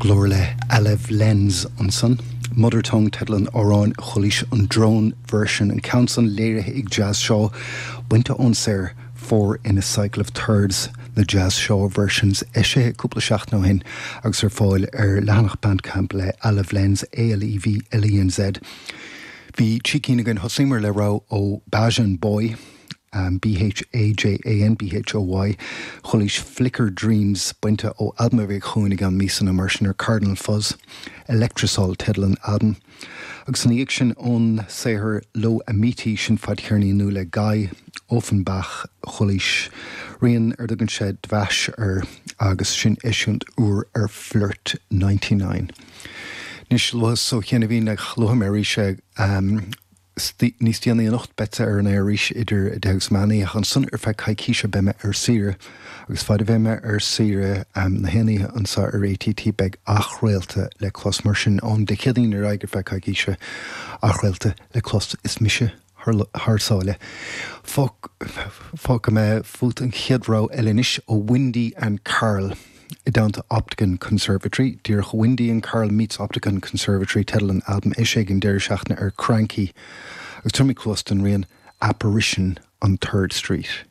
Glór le Alev Lenz ansan. Mother Tongue teideal an amhráin, chualaís an drone version, an ceann san léirithe ag Jazz Shaw, bainte ón saothar Four in a Cycle of Thirds, na Jazz Shaw Versions, eisithe cúpla seachtain ó shin agus ar fáil ar leathanach Bandcamp le Alev Lenz, A-L-E-V L-E-N-Z. Bhí trí cinn againn, thosaíomar le rogha ó Bhajan Boy, B-H-A-J-A-N B-H-O-Y, chualaís Flicker Dreams bainte ó albam a bheidh chugainn i gceann míosa nó mar sin ar Cardinal Fuzz, Electrosol teideal an albaim. Agus ina dhiaidh sin ón saothar Lo Amiti, sin fadcheirnín nua le Guy Ofenbach, chualaís rian ar dtugann sé Dvash air agus sin eisiúint úr ar Flirt 99. Anois, luadh ó chianaibhín, ach luafaidh mé arís é, Níos déanaí anocht beadsa ar an aer arís idir 10 agus meán oíche ach ansan ar feadh coicíse beidh mé ar saoire agus fad a bheidh mé ar saoire na haon oíche anseo ar ATT beidh athchraolta le clos mar sin ón Dé Céadaoin ar aghaidh ar feadh coicíse athchraolta le clos is mise thar sáile. Fágfaidh mé fút an chéad rogha eile anois ó Windy and Carl. i dteannta Optigan Conservatory. Díreach Windy and Carl Meets Optigan Conservatory teideal an albaim eisithe ag an deireadh seachtaine ar Kranky agus tabharfaidh muid cluas don rian Apparition on Third Street.